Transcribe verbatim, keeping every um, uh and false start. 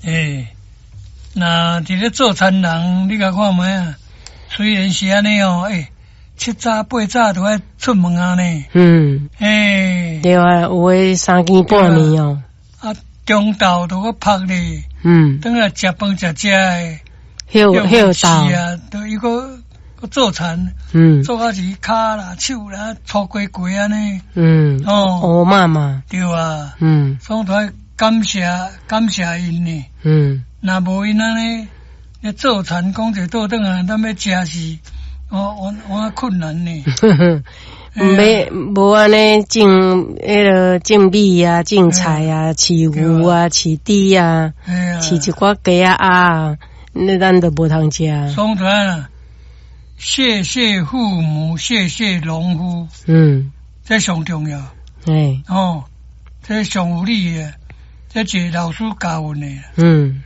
欸，若佇咧做田人，你共看覓啊？雖然是按呢哦，欸，七早八早就愛出門啊呢。嗯，欸，對啊，有的三更半暝哦。啊，中晝都閣曝咧。嗯。轉來食飯食食的。歇歇晝啊，都伊閣閣做田。嗯。做到是跤啦、手啦粗雞雞按呢。嗯。哦。烏麻麻。對啊。嗯。所以都愛感謝感謝𪜶呢。嗯。若無𪜶按呢，咧做田講一倒轉來，咱欲食是，我我我困難呢。欲無按呢種彼个種米啊、種菜啊、飼牛啊、飼豬啊、飼一寡雞仔鴨啊，那咱就無通食。所以啊，謝謝父母，謝謝農夫。嗯，這上重要。欸，哦，這上有理的，這一個老師教阮的。嗯。